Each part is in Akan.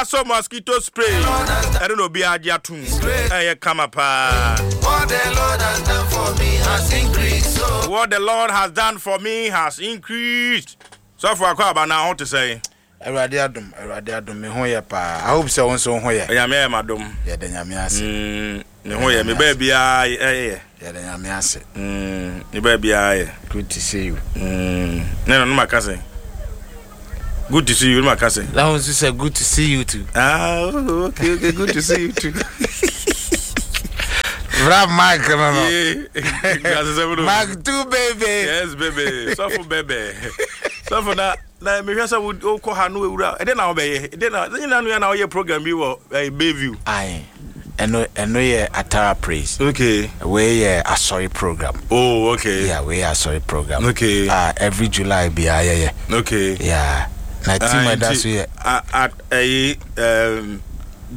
So mosquito spray ɛno na obiara agye atom ɛyɛ kama paa. What the Lord has done for me has increased. So What the Lord has done for me has increased. Sɔfo akɔ aba na ho te sɛn? Awurade adom, Awurade adom, me ho yɛ paa. I hope sɛ wo nso wo ho yɛ. Nyame ayɛ m'adom. Yɛda Nyame ase. Me ho yɛ, me baabiara ɛyɛ. Yɛda Nyame ase. Me baabiara yɛ. Good to see you. Ne no, no maka sɛn? Good to see you, no maka sɛn? Na wo nso sɛ good to see you too. Ah, oh, okay, good to see you too. Bra Mark no no. Yeah. Mark too baby. Yes baby. Sɔfo baby. Sɔfo na na mehwɛ sɛ wokɔ ha no wura ɛdɛ na wobɛyɛ ɛdɛ na nyina no yɛ na woyɛ program bi wɔ eh, Bayview. Aye. Ɛno ɛno yɛ Atara Praise. Okay. Wei yɛ asɔre program. Oh, okay. Yeah, wei yɛ asɔre program. Okay. Ah, every July biara yɛyɛ. Okay. Yeah. Na team Ah, ɛda nti, so yɛ. ɛyi um,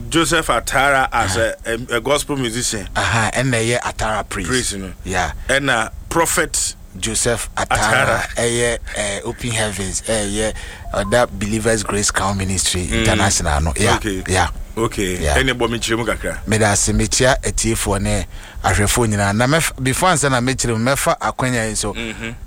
Joseph Atara as a gospel musician. Aha, ɛna ɛyɛ Atara Praise. Praise no. Yeah. Ɛna Prophet Joseph Atara ɛyɛ eh, Open Heavens ɛyɛ ɔda Believers Grace Crown Ministry International no. Yeah. Okay. Yeah. Okay. Yeah. Ɛne bɔ me kyerɛ mu kakra. Meda ase mekyia atiefoɔ ne ahwɛfoɔ nyinaa na mɛf before ansa na mɛkyerɛ mu mɛfa akwanya yi so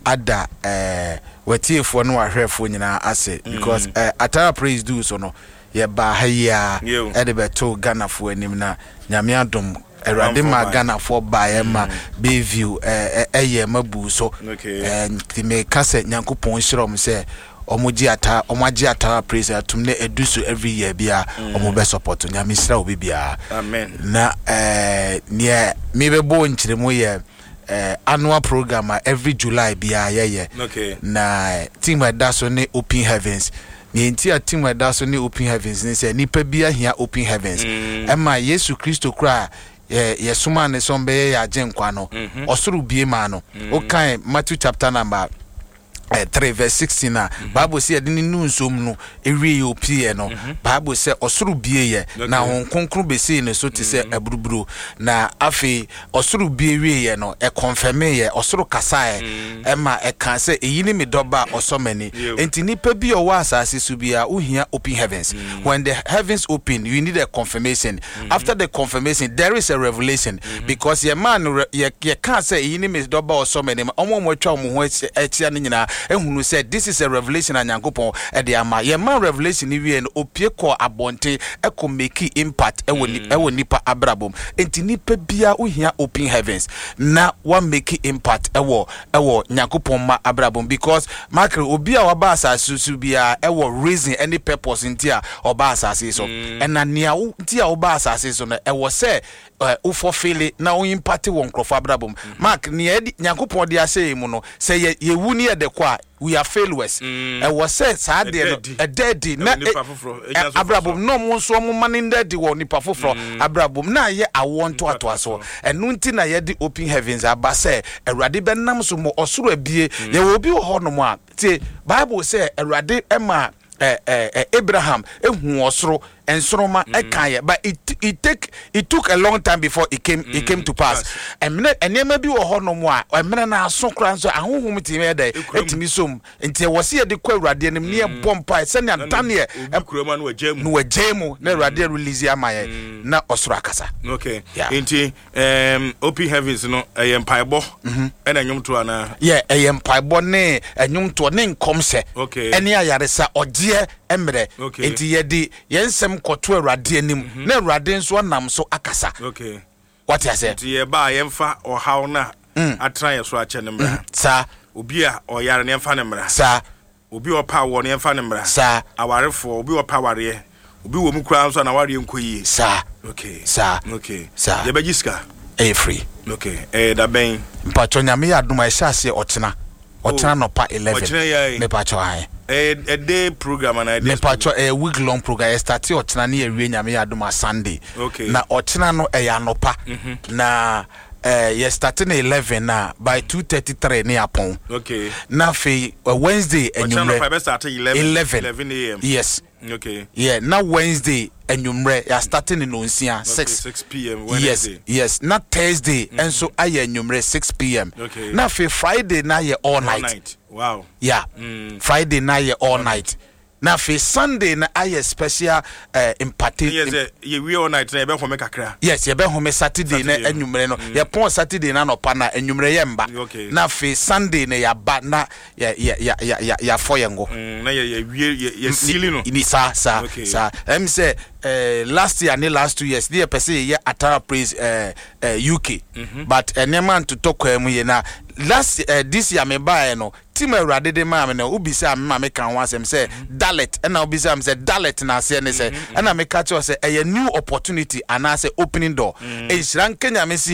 ada eh, watiefoɔ ne wahwɛfoɔ nyinaa ase because eh, Atara Praise duu so no yɛbaa ha yi ara Yo. ɛde bɛtoo Ghanafoɔ anim na Nyame adom Awurade maa Ghanafoɔ baeɛ ma Bayview ɛyɛɛ ma buu so. Nti meka sɛ Nyankopɔn nhyira wɔn sɛ wɔn gye ata wɔn agye Atara Praise atum na ɛdu so every year bia wɔn bɛ support. Nyame nhyira obi biara. Amen. Na ɛɛ neɛ mebɛbɔ nkyerɛmu yɛ ɛɛ annual program a every July biara yɛyɛ. Okay. Na team a ɛda so ne Open Heavens. Nea enti a team a ɛda so ne Open Heavens ne sɛ nnipa bi ahia Open Heavens. Ɛma Yesu Kristo koraa a yɛsomaa no sɛ ɔmbɛyɛ yɛn Agyenkwa no, ɔsoro bue maa no. Wokan Matthew chapter number 3 verse 16 a, Bible sɛ yɛde no nuu nsuo mu no wieeɛ ɔpieeɛ no, Bible sɛ ɔsoro bieeɛ na Honhom Kronkron bɛsii ne so te sɛ aburuburo. Na afei Ɔsoro bue wieeɛ no, ɛkɔnfɛmeeɛ, ɔsoro kasaeɛ, ɛma ɛkaa sɛ, Eyi ne me Dɔba a ɔsɔ m'ani. Enti nipa bi a ɔwɔ asase so biara, wohia open heavens. When the heavens open, you need a confirmation. After the confirmation, there is a revelation. Because yɛmaa no re, yɛ, yɛkaa sɛ, Eyi ne me Dɔba a ɔsɔ m'ani ma wɔn a wɔatwa wɔn ho ahyia no nyinaa hunu sɛ this is a revelation a Nyankopɔn de ama. Yɛmaa revelation no wieeɛ no, ɔpue kɔɔ abɔnten kɔ makee impact wɔ ni, wɔ nipa abrabɔ mu. Enti nipa biara wo hia open heavens na wa make impact ɛwɔ ɛwɔ Nyankopɔn mma abrabɔ mu because Michael obi a waba asase so biara ɛwɔ reason ɛne purpose nti a ɔba asase so ɛna nea wo nti a woba asase so no ɛwɔ sɛ ɛ wo fulfill na wo impact wɔ nkurɔfoɔ abrabɔ mu. Mark nea ɛde Nyankopɔn de ahyɛ yɛn mu no sɛ yɛ yɛwu ne yɛde kɔ a we are failures mm. Ɛwɔ sɛ saa adeɛ no ɛda adi na abrabɔ mu na ɔmo nso ɔmo ma ne nda adi wɔ nipa foforɔ mm. abrabɔ mu na ayɛ awoɔ ntoatoasoɔ. Ɛno nti na yɛde Open Heavens aba sɛ Awurade bɛnam so ma ɔsoro abie mm. Yɛwɔ obi wɔ hɔnom a tie Bible sɛ Awurade ma Abraham ehu ɔsoro nsoroma mm. Ɛka yɛ but it take it took a long time before it came it came to pass. Ɛmmerɛ nneɛma bi wɔ hɔnom a ɛmmerɛ no aso koraa nso ahohom tumi yɛ dɛ ɛtumi som nti ɛwɔ sɛ yɛde kɔ Awurade anim ne yɛbɔ mpae sɛnea Daniel na wagyae mu na Awurade release ama yɛn na ɔsoro akasa. Okay. Yeah. Nti Open Heavens no ɛyɛ mpaebɔ ɛna nnwomtoɔ anaa? Yɛ ɛyɛ mpaebɔ ne nnwomtoɔ ne nkɔmhyɛ ɛne ayaresa ɔgyeɛ mmerɛ. Nti yɛde yɛn nsɛm kɔto Awurade anim mm -hmm. na Awurade nso anam so akasa. Okay. Wate aseɛ? Nti yɛba a yɛmfa ɔhaw no a atena yɛ so akyɛ no mmra. Saa. Obi a ɔyare no yɛmfa no mmra. Saa. Obi a ɔpɛ awoɔ no yɛmfa no mmra. Saa. Awarefoɔ, obi a ɔpɛ awareɛ, obi wɔ mu koraa nso a n'awareɛ nkɔ yie. Saa. Okay. Saa. Okay. Saa. Yɛbɛgye sika. Ɛyɛ free. Okay. Ɛyɛ da bɛn? Mpakyɛ Nyame yɛ adom a ɛhyɛ aseɛ ɔkyena. Ɔkyena nɔpa 11. Ɔkyena yi ara yi. Mepakyɛ ae. Ɛyɛ a day program anaa a days program? Mepakyɛ ɛyɛ week long program. Yɛ starte ɔkyena ne yɛwie Nyame yɛ adom a Sunday. Okay. Na ɔkyena no ɛyɛ anɔpa. Na eh, yɛ starte no 11 a by 2:33 ne yɛapɔn. Okay. Na afei eh, Wednesday Ɔkyena anwummerɛ. nɔpa yɛbɛ starte 11. 11. 11 a.m. Yes. Okay. Yeah, na Wednesday anwummerɛ yɛ starte no nonsia, Okay, 6. 6 p.m. Yes, Wednesday. yes. Na Thursday nso ayɛ anwummerɛ 6 p.m. Okay. Na afei Friday na ayɛ all All night. night. Wow. Yeah. Friday na ayɛ all night. Na afei Sunday no ayɛ special eh, imparte. Yɛ sɛ yɛwie all night na yɛbɛhome kakra. Yes, yɛbɛhome Saturday na Saturday no. anwummere no. Yɛpɔn Saturday no anɔpa na anwummere yɛmba. Na afei Sunday no yɛaba na yɛ yɛ yɛ yɛ yɛ yɛafɔ yɛn ngo. Na yɛ yɛwie yɛ yɛsili no. Ni saa saa saa. Ɛm sɛ eh, last year ne last 2 years ne yɛpɛ sɛ yɛyɛ Atara Praise eh, eh, UK. But nneɛma ntotɔ kwan mu yie na last eh, this year mebaeɛ no, theme a Awurade de maa me no, wobisaa me ma meka ho asɛm sɛ Dalet, ɛna wobisaa me sɛ Dalet no aseɛ ne sɛ, ɛna meka kyerɛ wo sɛ ɛyɛ new opportunity anaasɛ opening door. Nhyira nka Nyame sɛ